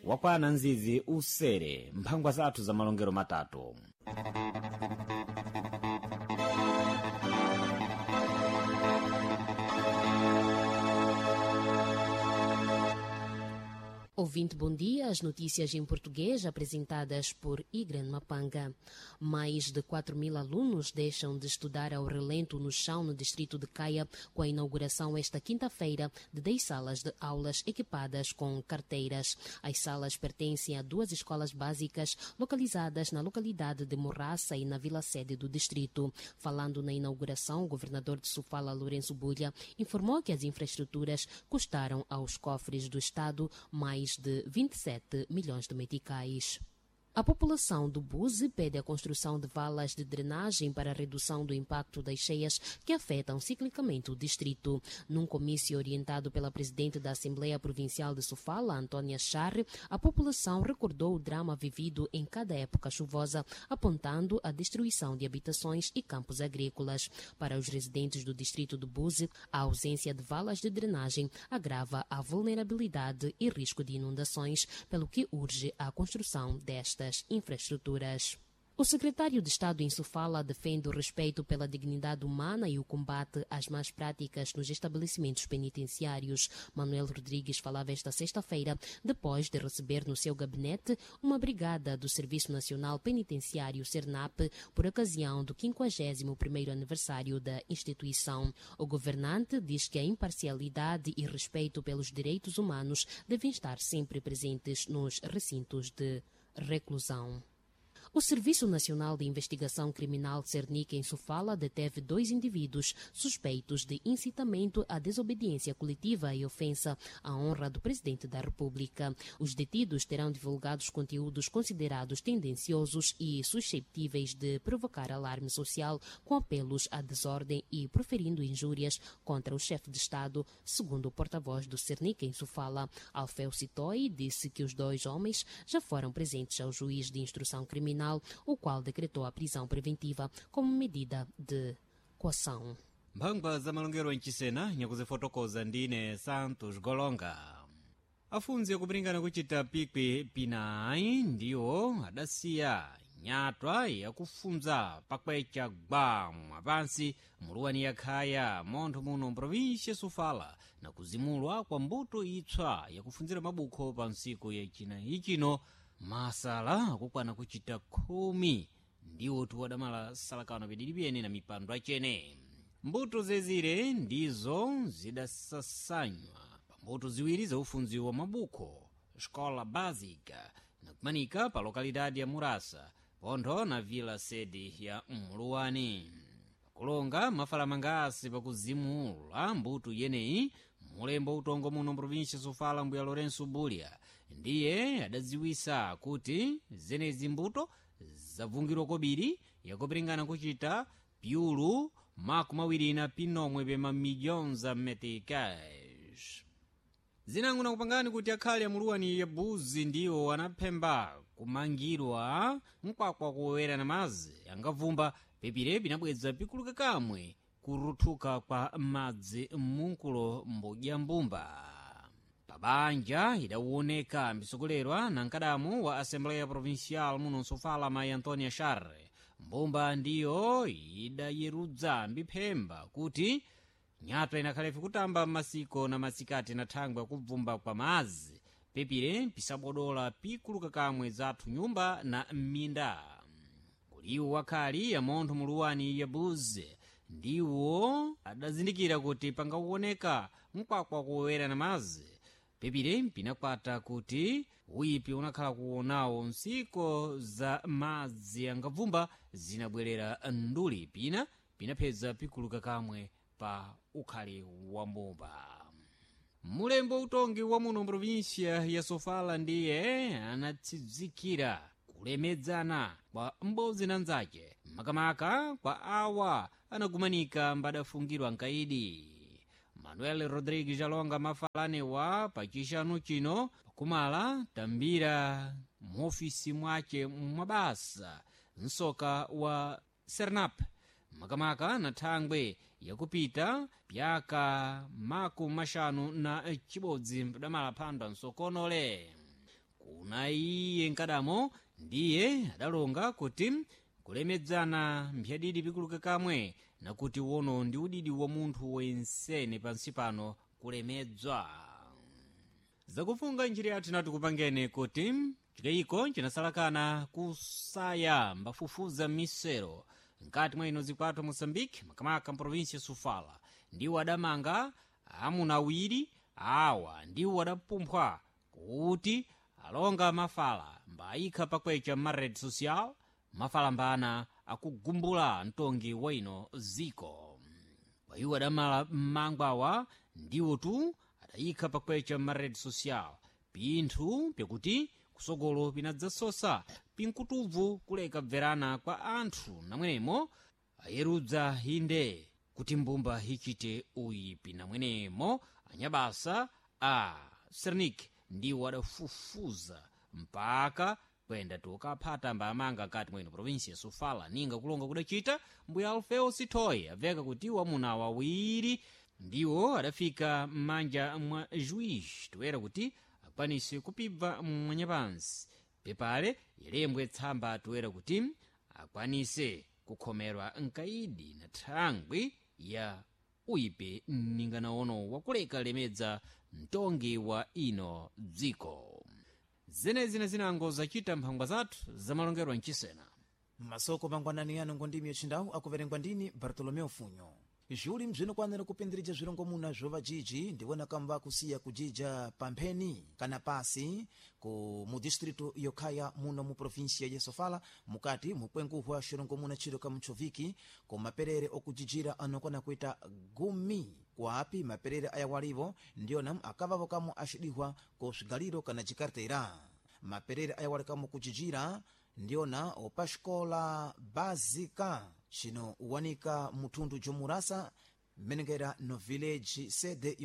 Wakwana nzizi usere mphangwa zathu za malongero matatu. Ouvinte, bom dia. As notícias em português apresentadas por Igran Mapanga. Mais de 4 mil alunos deixam de estudar ao relento no chão no distrito de Caia com a inauguração esta quinta-feira de 10 salas de aulas equipadas com carteiras. As salas pertencem a duas escolas básicas localizadas na localidade de Morraça e na vila sede do distrito. Falando na inauguração, o governador de Sofala, Lourenço Bulha, informou que as infraestruturas custaram aos cofres do Estado mais de 27 milhões de meticais. A população do Buzi pede a construção de valas de drenagem para a redução do impacto das cheias que afetam ciclicamente o distrito. Num comício orientado pela presidente da Assembleia Provincial de Sofala, Antônia Charre, a população recordou o drama vivido em cada época chuvosa, apontando a destruição de habitações e campos agrícolas. Para os residentes do distrito do Buzi, a ausência de valas de drenagem agrava a vulnerabilidade e risco de inundações, pelo que urge a construção destas infraestruturas. O secretário de Estado em Sofala defende o respeito pela dignidade humana e o combate às más práticas nos estabelecimentos penitenciários. Manuel Rodrigues falava esta sexta-feira depois de receber no seu gabinete uma brigada do Serviço Nacional Penitenciário SERNAP por ocasião do 51º aniversário da instituição. O governante diz que a imparcialidade e respeito pelos direitos humanos devem estar sempre presentes nos recintos de reclusão. O Serviço Nacional de Investigação Criminal Cernic em Sofala deteve dois indivíduos suspeitos de incitamento à desobediência coletiva e ofensa à honra do Presidente da República. Os detidos terão divulgado conteúdos considerados tendenciosos e susceptíveis de provocar alarme social com apelos à desordem e proferindo injúrias contra o chefe de Estado, segundo o porta-voz do Cernic em Sofala. Alfeu Sitoi disse que os dois homens já foram presentes ao juiz de instrução criminal, o qual decretou a prisão preventiva como medida de coação. Mphangwa za malongero mchisena nyakuzifotokoza ndine Santos Golonga. Afunzi akupiringana kuchita pikwi pinayi ndiwo adasiya nyatwa yakufunza pakwecha gwa mwapansi muluwani yakhaya montho muno mprovinsia Sofala na kuzimulwa kwa mbuto itswa yakufunzira mabukho pa ntsiku yacinayi chino masala akukwana kuchita 10 ndiwo tiwadamala salakano pidili pyene na mipando acene. Mbuto zezire ndizo zidasasanywa pa mbuto ziwiri za ufunzi wa mabukho Escola Básica nakumanika pa lokalidade ya Murasa pontho na vila sede ya Mluwani. Pakulonga mafalamanga asi pakuzimula mbuto yeneyi mulembo utongo muno mprovinsia Sofala mbuya Lourenço Bulha ndiye adadziwisa kuti zenezi mbuto zavungirwa kobiri yakupiringana kuchita piulu 24 pema milhões za meticais. Zinango nakupangani kuti akhale amuluwani ya buzi ndiwo anaphemba kumangirwa mkwakwa kuwera na madzi angavumba pepire pinabweza pikuluka kamwe kuruthuka kwa madzi munkulo mbudya mbumba. Pabanja idawoneka mbisokolerwa na mkadamu wa Assembleia Provincial muno Sofala mayi Antonia Charre. Mbumba ndiyo idayerudza mbiphemba kuti nyatwa inakhalefe kutamba masiko na masikati na thangwe akubvumba kwa madzi pepire pisabodola pikuluka kamwe zathu nyumba na minda. Kuliwu wakhali ya montho muluwani ya buzi ndiwo adazindikira kuti pangawoneka mkwakwa kuwera na madzi pepire pinakwata kuti uyipi unakhala kuonawo ntsiko za madzi angavumba zinabwerera nduli pina pinaphedza pikuluka kamwe pa ukhali wa mbumba. Mulembo utongi wa muno mprovinsia ya Sofala ndiye anatsidzikira kulemedzana kwa m'bodzi na mnzace makamaka kwa awa anagumanika mbadafungirwa nkaidi. Manuel Rodrigues alonga mafalanewa pachixanu chino pakumala tambira muofisi mwace mwabasa msoka wa Sernap makamaka na thangwe yakupita pyaka 51 mdamala phanda nsokonole. Kuna iye nkadamo ndiye adalonga kuti kulemedzana mphyadidi pikuluka kamwe, nakuti wono ndi udidi wa munthu wensene pansi pano kulemedzwa. Zakufunga njira yathu natikupangene kuti chikayiko chinasalakana kusaya mbafufuza misero mkati mwa ino zikwathu Moçambique, makamaka mprovinsia Sofala, ndiwo adamanga amuna awiri awa ndiwo adapumphwa kuti alonga mafala mbayikha pakwecha ma-red social mafala mbana akugumbula mtongi wa ino ziko. Kwa iwo adamala mmangwawa ndiwo tu adayikha pakwecha ma-red social pinthu pyakuti kusogolo pinadzasosa pinkutubvu kuleka bverana kwa anthu, namwenemo ayerudza inde kuti mbumba ichite uyipi, namwenemo anyabasa a Sernik ndiwo adafufuza mpaka kwenda tukaphata mbamanga kati mwino provinsi ya Sofala. Ninga kulonga kudachita mbuya Alfeo Sithoyi abveka kuti wamuna wawiri ndiwo adafika m'manja mwa juiz toera kuti akwanise kupibva mwanyapansi pepale ilembwe tsamba toera kuti akwanise kukhomerwa nkaidi na thangwi ya uyipe mninganaono wakuleka lemedza mtongi wa ino dziko. Zenezi na zinango zachita mphangwa zathu zamalongerwa mchisena. Masoko mangwanani yano ngondimi yachindawu akuverengwa ndini Bartolomeo Funyo. Zviuli mzvinokwanira kupindirija zvirongomuna zvovajiji ndiwona kamba kusiya kujija pampheni kana pasi ku mudistritu yokhaya muno mu provinsia ya Sofala, mukati mukwenguhwa xirongomuna chiro ka mchoviki ku maperere okujijira anokwana kuita 10, kwapi maperere ayawalivo ndiyona akavavo kamo axidihwa ku swigaliro kana jikartera. Maperere ayawali kamo kujijira ndiyona opaxikola básica cino uwanika muthundu jomurasa mmenengera no village sede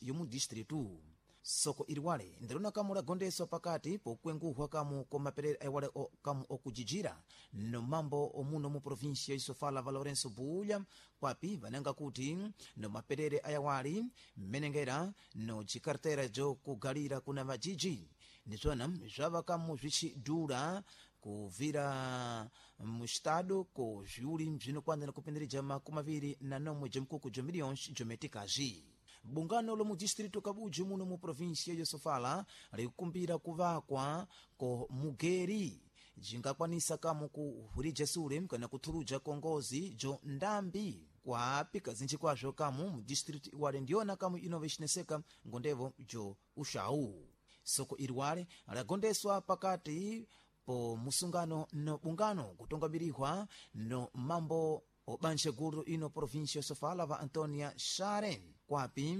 yomudistritu. Soko iliwale ndilona kamu lagondeswa pakati pokwenguhwa kamu komaperere aiwale kamu okujijira no mambo omuno mu provinsia isofala va Lourenço Bulha, kwapi vananga kuti no maperere ayawali mmenengera no jikartera jokugalira kuna vajiji nizvona zvava kamu zvichidhura kuvira mustado ko zviuli bzinokwanira kupindirija 27 jemkuku jo milhões jometikazi. Bungano lomu distrito Kabuji muno mu provinsia ya Sofala likukumbira kuvakwa ko mugeri jingakwanisa kamu kuhurija sule kana kuthuluja kongozi jo ndambi, kwapi kazinji kwazvo kamu mu distrito iwale ndiyona kamu inova icineseka ngondevo jo uxau. Soko iliwale lagondeswa pakati po musungano no bungano kutungamirihwa no mambo obanje gulu ino provinsia ya Sofala va Antonia Sharen, kwapi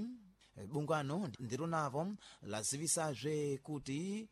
bungano ndilonavo lazivisazve kuti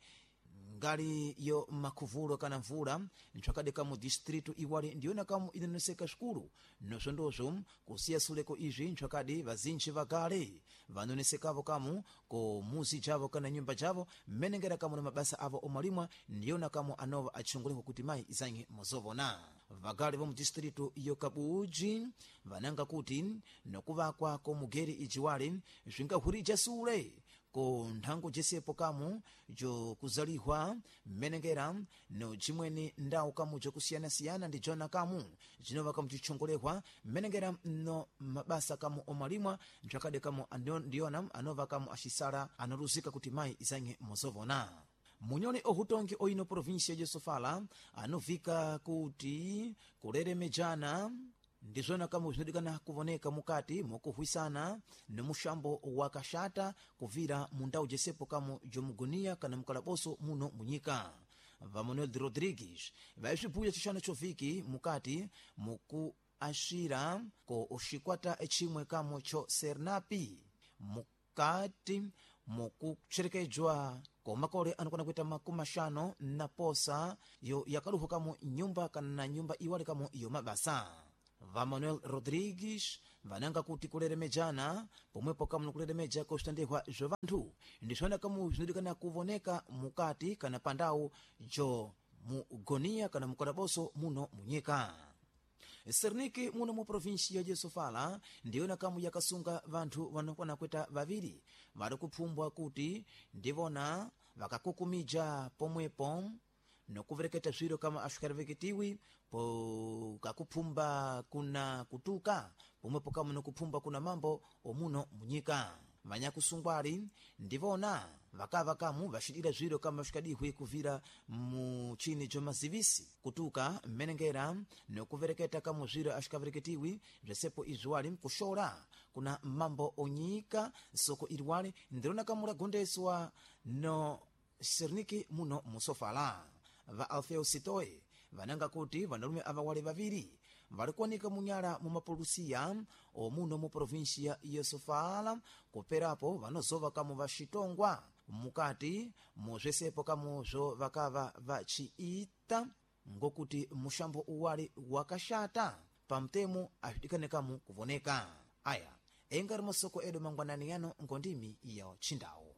ngali yo makhuvulo kana mvula ntsvakadeka mu distritu iwali ndiyona kamu inoneseka swikulu nosvondozvo kusiya suleko izvi ntsvakadi vazinji vakale vanonesekavo kamu ko muzi javo kana nyumba javo mmenengera kamu na mabasa avo omalimwa ndiyona kamu anova achunguleko kuti mayi izanyi muzovona. Vakale va mudistritu yo Kabuji vananga kuti nokuvakwa komugeri ijiwale zvingahurija sule ko nthango jesepo kamu jokuzalihwa mmenengera no jimweni ndawu kamu jokusiyanasiyana ndi jona kamu jinova kamu jichongolehwa mmenengera no mabasa kamu omalimwa ntsvakade kamu ndiyona anova kamu axisala analuzika kuti mayi izanye muzovona. Munyole ohutongi oino provinsia de Sofala anovika kuti kuleremejana ndizvona kamu zvinodikana kuvoneka mukati mokuhwisana nomuxambo wa kaxata kuvira mundau jesepo kamu jomugunia kana mukalaboso muno munyika. Va Manuel de Rodrigues vaisvibhuya chixano choviki mukati mukuaxira ko oxikwata echimwe kamu cho Sernapi mukati mukucherekedzwa ko makole anokwana kuita 56 yo yakaluhwa kamu nyumba kana nyumba iwali kamu yo mabasa. Va Manuel Rodrigues vananga kuti kuleremejana pomwepo kamu nokuleremeja kosvitandehwa zva vanthu ndizvona kamu zvinodikana kuvoneka mukati kana pandau jo mugonia kana mukalaboso muno munyika. Serniki muno mu provinsia de Sofala ndiyona kamu yakasunga vanthu vanokwana kuita vaviri vari kupfumbwa kuti ndivona Vakakukumija pomwepo nokuvereketa zwiro kama aswikariveketiwi po kakuphumba kuna kutuka pomwepo kama nokuphumba kuna mambo omuno munyika. Vanyakusungwali ndivona vakava kamu vacidira zwiro kama svikadihwe kuvira muchini bza mazivisi kutuka mmenengera nokuvereketa kamu zwiro asvikavereketiwi bzesepo izwali kuxola kuna mambo onyika. Soko iliwali ndirona kamu lagondeswa no sirniki muno musofala. Va Alfeo Sitoe vananga kuti vanalume ava wale vaviri valikuwanika munyala mu mapolusiya omuno mu provinsia ya Sofala, kuperapo vanozova kamu vaxitongwa mukati muzvesepo kamuzvo vakava vaciita, ngokuti muxambo uwali wakaxata pamtemo azvidikane kamu kuvoneka. Aya engari masoko edu mangwanani yano ngondimi ya Tchindawu.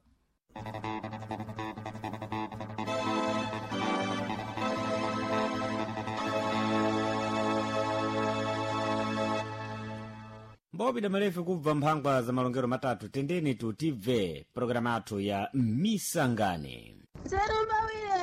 Mbopida malefu kubva mphangwa za malongero matatu, tendeni tutibve programu athu ya Misangane. Serumbawile.